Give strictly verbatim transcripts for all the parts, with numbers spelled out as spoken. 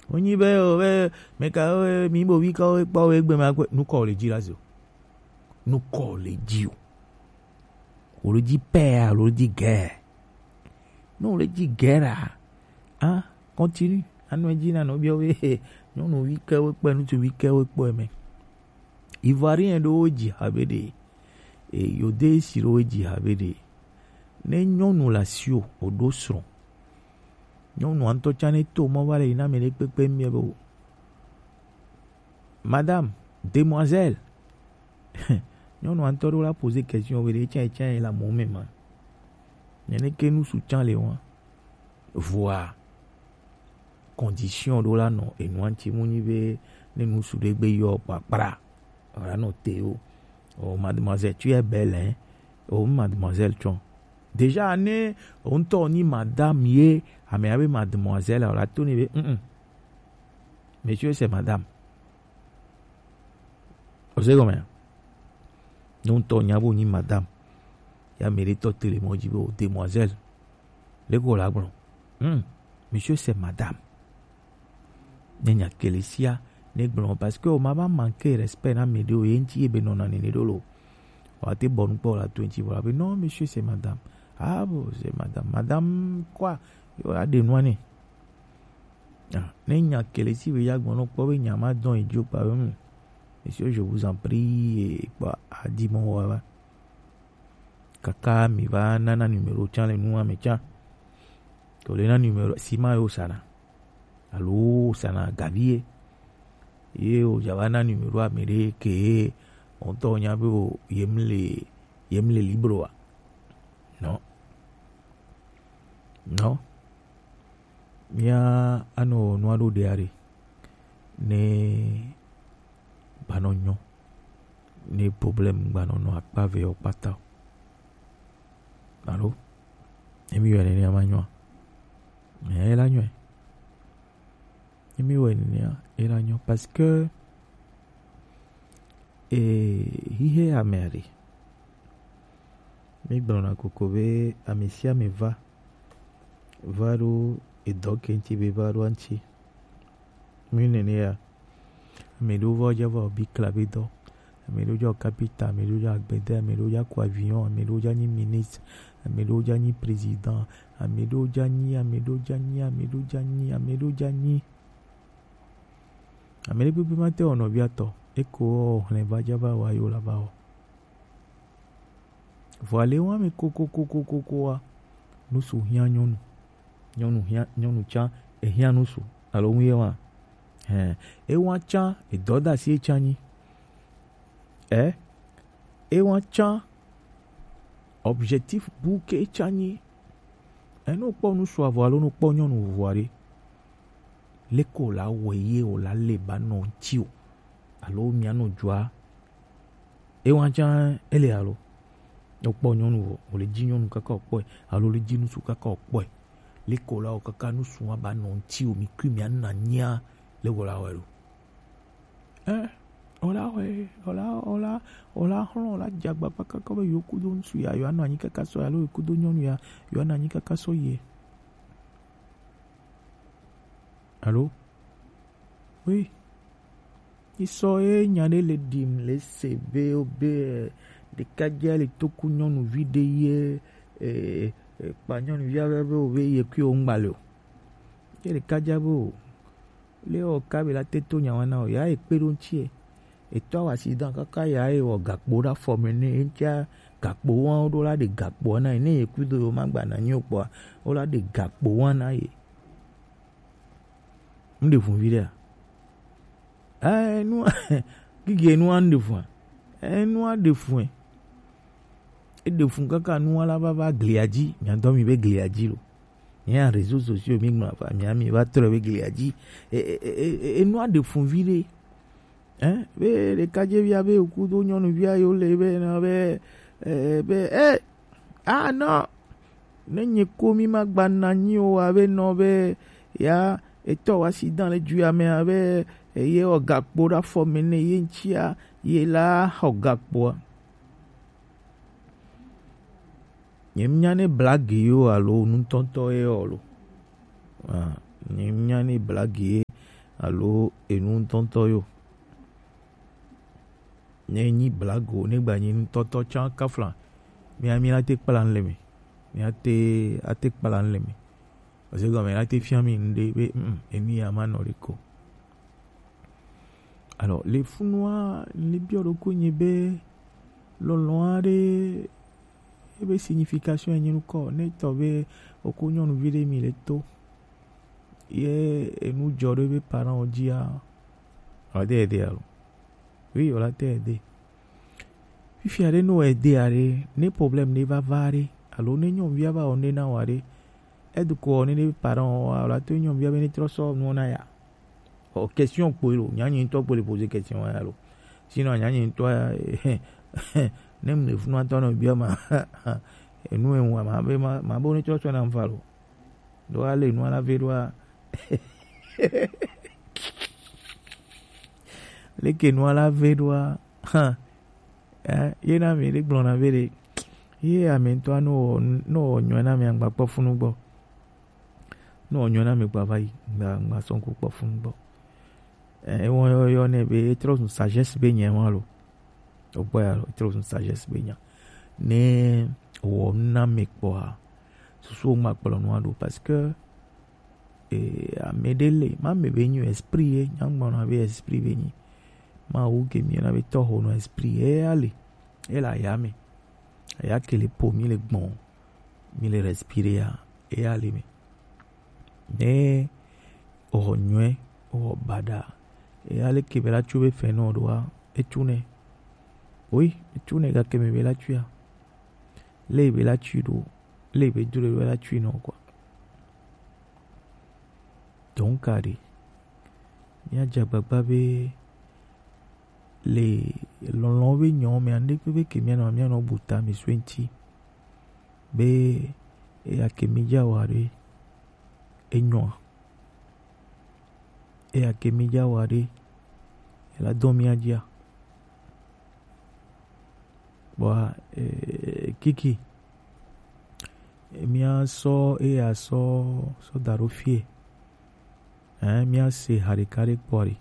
Wonyi be o be meka o mi bo wi ka o kpɔ o egbe ma kwe nu kɔ le dzi la zo. Nu kɔ le dzi o. O le dzi pɛ alo o le dzi gɛ. Ne o le dzi gɛ la, ah, continue. Anɔ edzi na nɔ biɔ be nyɔnu wi ke wo kpɛ, ŋutsu wi ke wo kpɔ eme. Ivoirien ɖewo dzi habe ɖe. E, yode si ɖewo dzi habe ɖe. Ne nyɔnu le asiwò, wòɖo srɔ̃. Nyɔnua ŋutɔ tsã ne to mɔ va le yi na ame ɖe kpekpe mia be o. Madame, demoiselle. Nyɔnua ŋutɔ ɖo la poser question be ɖe tsã tsã la mo me ma. Nene ke nu su tsã le wa. Voa condition ɖo la nɔ enua ŋuti mu nyi be ne nu su ɖe gbe yɔ kpakpra. Wòla nɔ te o. Oh, mademoiselle, tu es belle, hein? Oh, mademoiselle, tsɔ. Déjà, ne o ŋutɔ nyi madame ye, ame abe mademoiselle, wòla to ne be, mm, mm. Monsieur, c'est madame. O se gɔme? Ne o ŋutɔ nya bo nyi madame. Ya ame ɖe tɔ te le mɔ dzi be o demoiselle. Le ko la gblɔ. Hmm. Monsieur, c'est madame. Ne nya kelesia ne gblɔ parce que o ma va manquer respect na ame ɖewo ye ŋuti ye be nɔna nene ɖo lo. Wa te bɔ nukpɔ la to ŋuti vɔ la be non, monsieur, c'est madame. Ah bon, c'est madame. Madame quoi? Yo la de nua ne. Ah, ne nya kelesi be ya gbɔnɔ kpɔ be nya ma dɔn edzo kpa be hmm. Monsieur, je vous en prie, kpɔ adi mɔ wa va. Kaka mi va nana numéro tsã le nua me tsã. To le na numéro si ma yo sana. Alo sana gavi ye. Ye o ja va na numéro ame ɖe ke o ŋutɔ nya be o yem le, yem le libre wa. Non. Non. Mía anɔ nua ɖo ɖe aɖe. Ne gbanɔ nyɔ. Ne problème gbanɔ nɔ akpa ve o kpata o. Alo? Emi yɔ nene ama nyɔ. Mais ela nyɔ. Emi wɔ nene ela nyɔ parce que eh hihe ame aɖe. Mi gblɔna koko be ame sia ame va va ɖo edɔ ke ŋuti be va ɖo aŋuti. Mi nene ya. Ame ɖewo va dza va bi kla be dɔ. Ame ɖewo dza kapita, ame ɖewo dza agbede, ame ɖewo dza ko avion, ame ɖewo dza nyi ministre, ame ɖewo dza nyi président, ame ɖewo dza nyi, ame ɖewo dza nyi, ame ɖewo dza nyi, ame ɖewo dza nyi. Ame ɖe kpekpe ma te wɔ nɔvia tɔ. Eko hlẽ va dza va wa yo la va wɔ. Vɔa le wa me kokokokokokoa, nusu hiã nyɔnu. Nyɔnu hiã, nyɔnu tsã ehiã nusu. Alo ŋu ye wa? Hɛn, ewa tsã edɔdasi etsã nyi. Ɛ, ewa tsã objectif bu ke etsã nyi. Ɛ, ne wokpɔ nusu avɔ alo ne wokpɔ nyɔnu vovo aɖe, leke wòla wɔe ye wòla le ba nɔ ŋuti o. Alo mia nɔ dzoa Ewa tsã ele alo. Wokpɔ nyɔnu vɔ, wòle dzi nyɔnu kaka wòkpɔe, alo wòle dzi ŋutsu kaka wòkpɔe. Leke wòla wɔ kaka ŋutsu wa ba nɔ ŋuti o, mi kui mia na nyia le wòla wɔe lo. Ɛ, wòla wɔe, wòla, wòla, wòla xlɔ, wòla dze agbagba kaka be yewo kudo ŋutsu ya, yewoa nɔ anyi kaka sɔ ya, alo yewo kudo nyɔnu ya, yewoa nɔ anyi kaka sɔ ye. Alo? Oui. Isɔ ye nya ɖe le ɖim le se be o be, eh, ɖekadza le toku nyɔnuvi ɖe ye, eh, eh, kpa nyɔnuvia be, be o be ye kui o ŋgba le o. Ye ɖekadza be o. Le o ka be la te to nya wa na o. Ya e kpe ɖo ŋuti e. Etɔ wa accident kaka ya e wɔ gakpo ɖe afɔ me ne, eŋtia gakpo wa ɖo la ɖe gakpo na e. Ne ye kui do yo ma gba na nyi o kpɔa, o la ɖe gakpo wa na ye. Ŋɖe fun viɖea? Eh, nu, gigi nu an ɖe fun. Eh, nu an ɖe fun. E ɖe fun kaka nu ala va va glia dzi. Mia dɔ mi be glia dzi lo. Mia réseaux sociaux mi ŋlɔ afa, mia mi va trɔ be glia dzi. E, e, e, e, e, nu an ɖe fun viɖe. Eh, be ɖekadzevi abe okudo nyɔnuvia yo le be na be, eh, be, eh, Ah non, ne nye ko mi ma gba na nyi o abe nɔ be ya etɔ wa accident le dua me abe ye wɔ gakpo ɖe afɔ me ne ye ŋutia ye la xɔ gakpoa. Nye nya ne blague yo alo nutɔntɔ ye o lo. Ah, nye nya ne blague ye alo enu ŋutɔŋutɔ yo. Ne nyi blago, ne gba nyi nutɔtɔ tsã kafla, mía, mía te kpla nu le me. Mía te, ate kpla nu le me. Parce que gɔme la te fia mi ŋɖe be, mm, enu ya ma nɔ ɖe ko. Alors, le funua, le biɔ ɖokui nyi be, lɔlɔ̃ aɖe, ebe signification enyi nukɔ, ne tɔ be, oko nyɔnuvi ɖe mi le to. Ye enu dzɔ ɖe be parent wo dzia, ɔde ede alo. Oui, wòla te ede. Fifia ɖe, ne wòede aɖe, ne problème ɖe va va ɖe, alo ne nyɔnuvia va wɔ ne na wò aɖe, edu ko wɔ ne ne parent wɔ, alo ato nyɔnuvia be ne trɔ sɔ nuwo na ya. O, question kpoe lo, nya nyi ŋutɔ kpoe le poser question ya lo. Sinon, nya nyi ŋutɔ ya, ne mu le funu atɔ nɔ bia ma, enu ewu ma be ma, ma bo ne trɔ sɔ na mfa lo. Do ale nua la ve ɖoa. Leke nua la ve ɖoa. Hã. Eh, ye na mi ɖe gblɔna be ɖe, ye ame ŋutɔa, ne wɔ, ne wɔ nyɔe na mi, agba kpɔ funu gbɔ. Ne wɔ nyɔe na mi, gba va yi, gba, gba sɔn ku kpɔ funu gbɔ. Eh, ewɔ yɔ, yɔ ne be, etrɔ zu sagesse be nyɛ wa lo. Ogbɔ ya lo, etrɔ zu sagesse be nya. Ne wɔ nu na mi kpɔa, susu wo ma kplɔ nua ɖo, parce que, eh, ame ɖe le, ma me be nyi esprit ye, nya ŋgba na be esprit be nyi. Ma wu ke mi na be tɔho no esprit ye ya le, e la ya me. Ya ke le po mi le gbɔn, mi le respirer ya, e ya le me. Ne o nyɔe, o bada, e ya le ke be la tsu be fɛ no ɖoa, e tsu ne. Oui, e tsu ne ga ke me be la tsu ya. Le be la tsu ɖo, le be dure be la tsu no quoi. Donc, allez, míadze agbagba be le lɔlɔ̃ be nyɔ me ande kpekpe ke míanɔ, míanɔ bu ta mi so eŋti be eya ke mi dza wa ɖe enyɔa, eya ke mi dza wa ɖe ela dɔ mía dzia. Kpɔa, eh, kiki. Mía sɔ eya sɔ, sɔ da ɖo fie. Eh, mía se ha ɖeka ɖe kpɔ ɖi.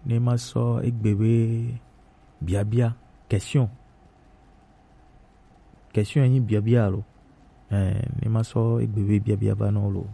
Ne ma sɔ egbe be biabia, question. Question enyi biabia lo. Eh, ne ma sɔ egbe be biabia va nɔ lo.